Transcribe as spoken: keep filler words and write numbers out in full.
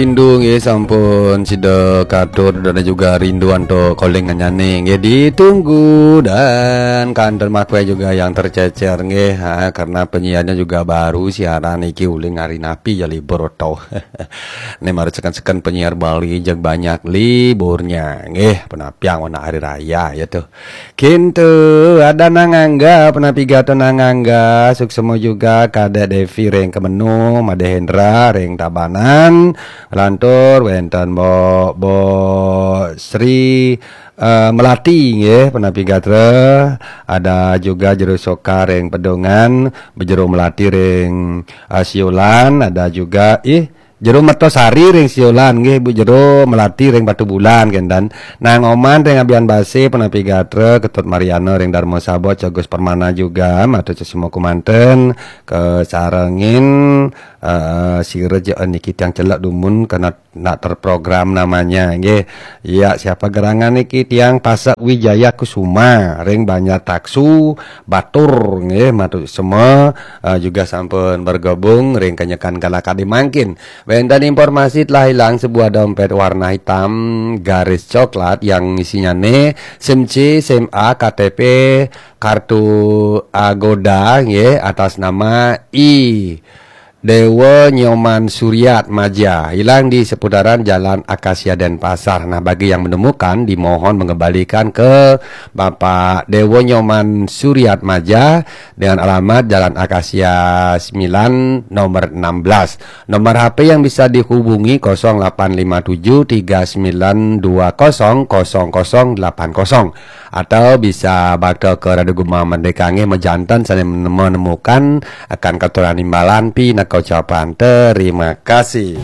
Rindu nggih sampun sida katur dan juga rindu antuk calling-annyané nggih ditunggu dan kanten makwe juga yang tercecer nggih, ha, karena penyiarnya juga baru siaran iki uling hari napi ya libur to. Né marep seken-seken penyiar Bali jeg banyak liburnya nggih, penapiang wana hari raya ya tuh. Kintu ada Nang Angga, penapi gatra Nang Angga, suksma juga Kadek Devi ring Kemenung, Made Hendra ring Tabanan, lantur wénten Mbok, Mbok Sri eh, Melati nggih, penapi gatra, ada juga Jero Soka ring Pedungan, Bejero Melati ring eh, Siolan, ada juga ih Jero Mertosari ring Siolan nggih, Bu Jero Melati ring Batubulan kénten. Nang Oman ring Abian Base, penapi gatra, Ketut Mariana ring Darma Sabot, Agus Permana juga, matur suksma kumanten, kasarengin eh, sira ja niki tiang celek dumun kena nak terprogram namanya nggih. Ya, siapa gerangan niki tiang Pasek Wijaya Kusuma ring Banjar Taksu, Batur nggih, matur suksma eh, juga sampun bergabung ring kenyekan kala kadi mangkin. Wénten informasi telah hilang sebuah dompet warna hitam garis coklat yang isinya né SIM C, SIM A, K T P, kartu Agoda nggih atas nama I Dewa Nyoman Suryat Maja, hilang di seputaran Jalan Akasia Denpasar. Nah, bagi yang menemukan, dimohon mengembalikan ke Bapak Dewa Nyoman Suryat Maja dengan alamat Jalan Akasia sembilan, nomor enam belas. Nomor H P yang bisa dihubungi kosong delapan lima tujuh tiga sembilan dua kosong kosong kosong delapan kosong. Atau bisa bakta ke Radio Gema Merdeka nggih, majanten sané menemukan akan katuran imbalan pinaka ucapan terima kasih.